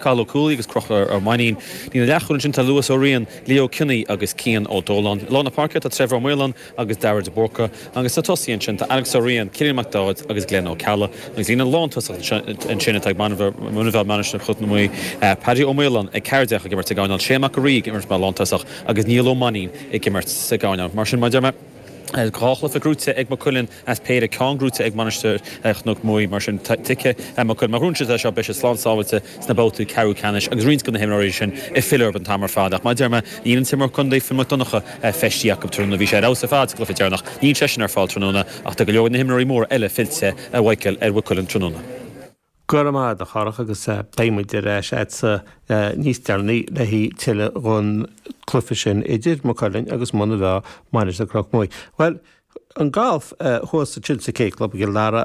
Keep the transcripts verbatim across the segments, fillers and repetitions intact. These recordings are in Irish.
Cathal Ó Cúlaí agus Conchúr Ó Mainnín. Líne leathchúil ansin tá Lewis Ó Riain, Leo Kinney agus Cian Ó Dóláin. I lár na páirce tá Trevor Ó Maoláin agus Dara de Búrca agus sna tosaithe ansin tá Alex Ó Riain, Cillian Mac Dáid agus Glenn Ó Ceallaigh. Agus líne lántosach ansin atá ag Muine Mheá Mainistir Chnoc na Muaidhe, Paddy Ó Maoláin ag ceathair déag ag imirt sa gcoirnéal, Shane Mac an Rí ag imirt mar lántosach agus Niall Ó Mainnín ag imirt sa gcoirnéal. Mar sin, mar a deir mé, dhá chluiche gnóite ag Maigh Cuilinn as péire, ceann gnóite ag Mainistir Chnoc Muaidhe. Mar sin, tuigfidh Maigh Cuilinn, má ghnóthaíonn siad é seo, beidh siad slán sábháilte sna babhtaí ceathrú ceannais agus roinnt de na himreoirí sin ag filleadh orthu an t-am ar fad. Ach mar a deir mé, níl an t-imreoir contae Finn Mac Donncha feistithe acu tráthnóna. Bhí sé ar fheabhas ar fad sa gcluiche deireanach. Níl seisean ar fáil tráthnóna ach tá go leor de na himreoirí móra eile fillte, a Mhichael, ar Mhaigh Cuilinn tráthnóna. Go raibh maith agat, a Chárthach, agus beidh muid ar ais agatsa níos deireanaí le haghaidh tuilleadh dhon cluiche sin idir Maigh Cuilinn agus Muine Mheá, Mainistir Chnoc Muaidhe. Bhuel, an galf thuas ansin sa K Club i gCill Dara,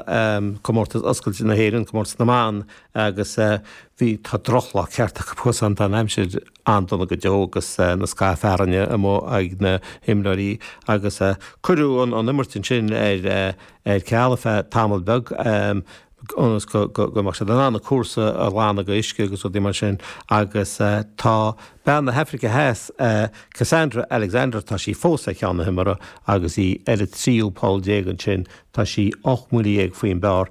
comórtas oscailte na hÉireann, comórtas na mban, agus bhí, tá drochlá ceart acu thuas ann, tá an aimsir an-dona go deo agus na scáth fearthainne amuigh ag na himreoirí agus cuireadh an imirt ansin ar ar ceal ar feadh tamall beag. ionas go mbeadh siad in ann an cúrsa a ghlanadh de uisce agus rudaí mar sin agus tá bean na hAfraice Theas, Cassandra Alexander, tá sí fós ar cheann na himeartha agus í ar an tríú poll déag ansin, tá sí ocht mbuille dhéag faoin bpar.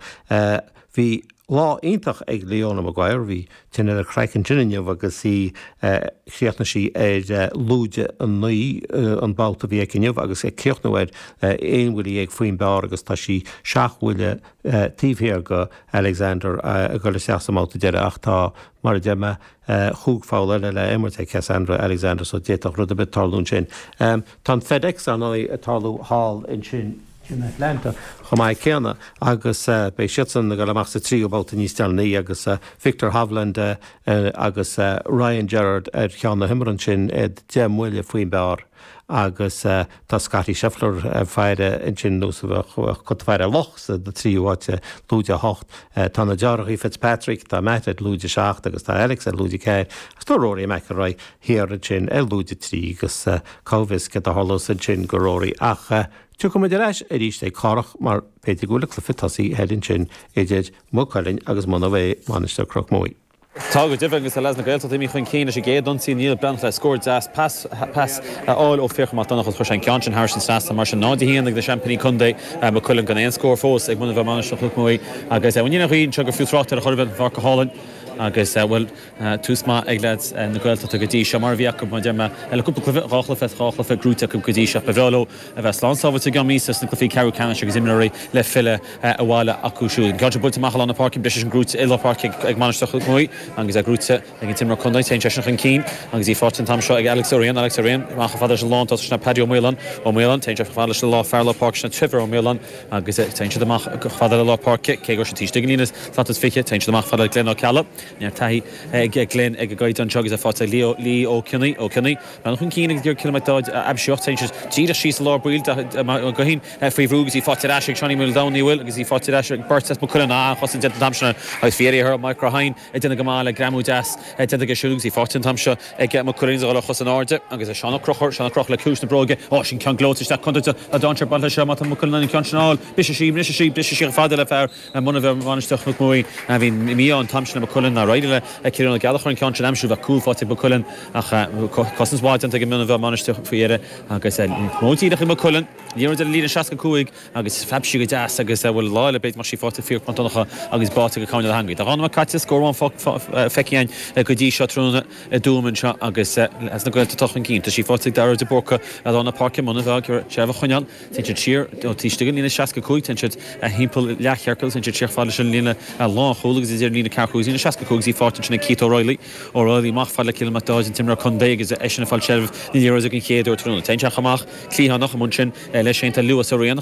Bhí lá iontach ag Leona Maguire, bhí tine ar a craiceann ansin inniu agus í, chríochnaigh sí ar lúide a naoi an babhta a bhí aici inniu agus ag críochnú ar aon bhuille dhéag faoin bpar agus tá sí seacht mbuille taobh thiar de Alexander ag dul isteach sa mbabhta deiridh ach tá, mar a deir mé, chúig pholl eile le imirt ag Cassandra Alexander so d'fhéadfadh rud ar bith tarlú ansin. Tá an FedEx, ar ndóigh, ag tarlú thall ansin in Atlanta chomh maith céanna agus beidh siadsan ag dul amach sa tríú babhta níos deireanaí agus Viktor Hovland agus Ryan Gerard ar cheann na himeartha ansin, iad deich mbuille faoin bpar. Agus tá Scottie Scheffler ag faire ansin nós a bheadh cat ag faire ar luch sa tríú háit, lúide a hocht. Tá na deartháireacha Fitzpatrick, tá Matt ar lúide a seacht agus tá Alex ar lúide a ceathair agus tá Rory McIlroy thiar ansin ar lúide a trí agus cá bhfios céard a tharlós ansin go Rory ach tiocfaidh muid ar ais arís ag Cárthach mar b'fhéidir go bhfuil an cluiche tosaithe thoir ansin idir Maigh Cuilinn agus Monabh Mainistir Chnoc Muaidhe. Tá go deimhin agus tá leaids na Gaeltachta imithe chun cinn leis an gcéad ionsaí. Niall Breathnach le scór deas pas pas a fháil ó Fiachra Mac Donncha agus chuir sé an ceann sin thairis an trasnán. Mar sin náid a haon ag na seaimpíní contae, Maigh Cuilinn, gan aon scór fós ag Muine Mheá Mainistir Chnoc Muaidhe agus bhuel níl aon ghaoth anseo gur fiú trácht air a chor ar bith, an pháirc go hálainn agus bhuel tús maith ag leaids na Gaeltachta go dtí seo mar a bhí acu mar a deir mé le cúpla cluiche, dhá chluiche as dhá chluiche gnóite acu go dtí seo. Ba bhreá leo a bheith slán sábháilte i gceann míosa sna cluichí ceathrú ceannais agus imreoirí le filleadh abhaile acu siúd. An ceann seo buailte amach i lár na páirce, briseadh sin gnóite i lár páirce ag Mainistir Chnoc Muaidhe agus é gnóite ag an t-imreoir contae. Téann seisean chun cinn agus í faighte an t-am seo ag Alex Ó Riain. Alex Ó Riain amach chomh fada leis an lántosach sin Paddy Ó Maoláin. Ó Maoláin, téann sé chomh fada leis an lá fear lár páirce sin Trevor Ó Maoláin agus téann siad amach chomh fada le lár páirce cé go raibh siad taobh istigh den líne slat is fiche. Téann siad amach fada le Glenn Ó Ceallaigh. Neart taithí ag Glenn ag an gcaighdeán seo agus é faighte ag Leo Lee Ó Cionnaith. Ó Cionnaith, breathnú chun cinn agus ag iarraidh Cillian Mac Dáid a aimsiú ach téann siad díreach síos i lár baill Mac Guithín faoi bhrú agus í faighte ar ais ag Seánie Muldowney bhfuil agus í faighte ar ais ag beirt as Maigh Cuilinn. An-chosaint déanta an t-am sin agus bhí ar Mike Rahine ag déanamh go maith le greamú deas déanta aige siúd agus í faighte an t-am seo ag Maigh Cuilinn is a dhul ar chos in airde agus é Seán Ó Conchúir, Seán Ó Conchúir le ciumhais na bróige. Ó, sin ceann gleoite isteach contúirteach tá dainséar ag baint leis seo má tá Maigh Cuilinn in ann an ceann sin a fháil. Briseadh sí, briseadh sí, briseadh sí chomh fada le fear Muine Mheá Mainistir Chnoc Muaidhe. Bhí mí-ádh an t-am sin le Maigh Cuilinn nár éirigh le Cillian Ó Gallchóir an ceann sin a aimsiú. Bheadh cúl faighte ag Maigh Cuilinn ach cosaint mhaith déanta ag Muine Mheá Mainistir faoi dheireadh agus móid díreach ag Maigh Cuilinn. Liathróid ar an líne seasca cúig agus phreab sí go deas agus bhuel lá eile b'fhéidir go mbeadh sí faighte ag Fiachra Mac Donncha agus báite go coirnéal theangaidh. Tá dhá nóiméad caite, scór amháin feicthe againn go dtí seo tráthnóna i dTuaim anseo agus leaids na Gaeltachta chun cinn. Tá sí faighte ag Dara de Búrca i lár na páirce Muine Mheá ag iarraidh seilbh a choinneáil. Téann siad siar ó taobh istigh den líne seasca cúig, téann siad thimpeall leathchiorcal, téann siad siar fad leis an líne lánchúil agus idir an líne ceathracha cúig agus líne seasca cúig agus í faighte ansin ag Keith O'Reilly. O'Reilly amach fad le Cillian Mac Dáid an t-imreoir contae agus eisean ag fáil seilbh na liathróide den chéad uair tráthnóna. Téann sé amach cliathánach amuigh ansin leis féin tá Lewis Ó Riain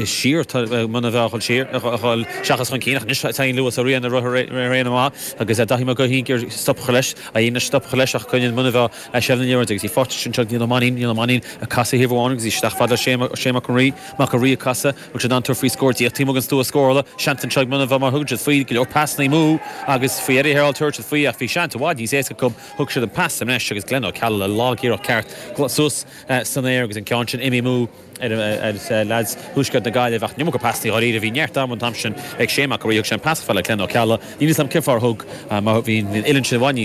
siar tá Muine Mheá a dhul siar a dhul seachas chun cinn ach anois téann Lewis Ó Riain ar raon amach agus Daithí Mac Guithín ag iarraidh stop a chur leis a dhéanamh stop a chur leis ach coinníonn Muine Mheá seilbh na liathróide agus í faighte ansin ag Niall Ó Mainnín Niall Ó Mainnín ag casadh thaobh amháin agus í isteach fad le Shane Mac an Rí Mac an Rí ag casadh bhfuil siad in ann tabhairt faoi scór díreach taobh amuigh den stua scórála seans anseo ag Muine Mheá má thugann siad faoi go leor pasanna amú agus faoi faoi Eddie Herald tabhairt faoi ach bhí seans i bhfad níos éasca acu thug siad an pas anois agus Glenn Ó Ceallaigh le lágiarracht ceart suas san aer agus an ceann sin imithe amú ar ar lads Thuaisceart na Gaillimhe ach an iomarca pasanna dháiríre bhí neart am an t-am sin ag Shane Mac thug sé an pas le Glenn Ó Ceallaigh. Ní sam cifar thug mar bhí an uillinn sin bhain